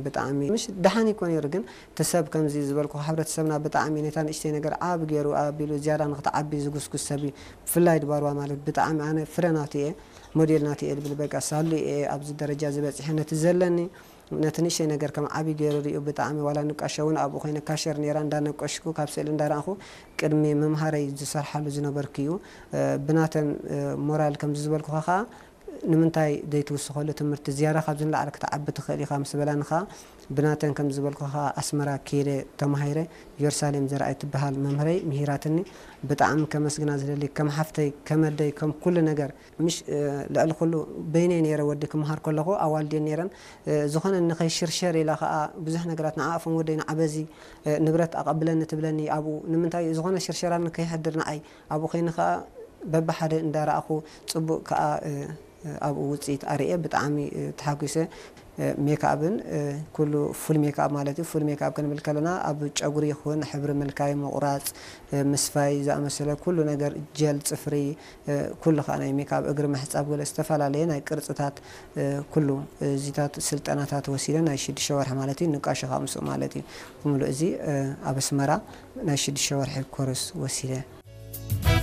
ብጣዕሚ ምሽ ደሓን ይኮን ነይሩ፣ ግን እቲ ሰብ ከምዚ ዝበልኩ ሕብረተሰብና ብጣዕሚ ነታ ንእሽተይ ነገር ዓብ ገይሩ ኣቢሉ ዝያዳ ንክትዓቢ ዝጉስጉስ ሰብ እዩ። ብፍላይ ድባርዋ ማለት ብጣዕሚ ኣነ ፍረ ናቱ እየ፣ ሞዴል ናቱ እየ ድብል በቃ ሳሉ እየ ኣብዚ ደረጃ ዝበፅሐ። ነቲ ዘለኒ ነቲ ንእሽተይ ነገር ከም ዓቢ ገይሩ ሪኡ ብጣዕሚ ዋላ ንቃሸ እውን ኣብኡ ኮይነ ካሸር ነይራ እንዳነቀሽኩ ካብ ስእሊ እንዳረኣኹ ቅድሚ ምምሃረይ ዝሰርሓሉ ዝነበርኩ እዩ። ብናተን ሞራል ከምዚ ዝበልኩኻ ከዓ ንምንታይ ዘይትውስኸሉ ትምህርቲ ዝያዳ ካብዚ ንላዕሊ ክትዓቢ ትኽእል ኢኻ ምስ በላኒ ኸዓ ብናተን ከም ዝበልኩኻ ኣስመራ ከይደ ተማሂረ። ኢየሩሳሌም ዘርኣይ ትበሃል መምህረይ ምሂራትኒ። ብጣዕሚ ከመስግና ዝደሊ ከም ሓፍተይ ከም ኣደይ ከም ኩሉ ነገር ምሽ ልዕሊ ኩሉ በይነይ ነይረ ወዲ ክመሃር ከለኹ ኣዋልድየን ነይረን። ዝኾነ ንኸይሽርሸር ኢላ ኸዓ ብዙሕ ነገራት ንዓኣፎም ወደይ ንዓበዚ ንብረት ኣቐብለኒ ትብለኒ። ኣብኡ ንምንታይ ዝኾነ ሽርሸራ ንከይሕድር ንዓይ ኣብኡ ኮይነ ኸዓ በብሓደ እንዳረኣኹ ጽቡቕ ከኣ ኣብኡ ውጽኢት ኣርእየ ብጣዕሚ ተሓጒሰ። ሜክኣፕን ኩሉ ፉል ሜክኣፕ ማለት እዩ። ፉል ሜክኣፕ ክንብል ከለና ኣብ ጨጉሪ ይኹን ሕብሪ ምልካይ፣ ምቑራጽ፣ ምስፋይ ዝኣመሰለ ኩሉ ነገር፣ ጀል፣ ጽፍሪ፣ ኩሉ ከኣ ናይ ሜክኣፕ፣ እግሪ ምሕጻብ፣ ገለ ዝተፈላለየ ናይ ቅርጽታት ኩሉ እዚታት ስልጠናታት ወሲደ ናይ ሽዱሽተ ወርሒ ማለት እዩ። ንቃሾ ከኣ ምስኡ ማለት እዩ። ብምሉእ እዚ ኣብ ኣስመራ ናይ ሽዱሽተ ወርሒ ኮርስ ወሲደ።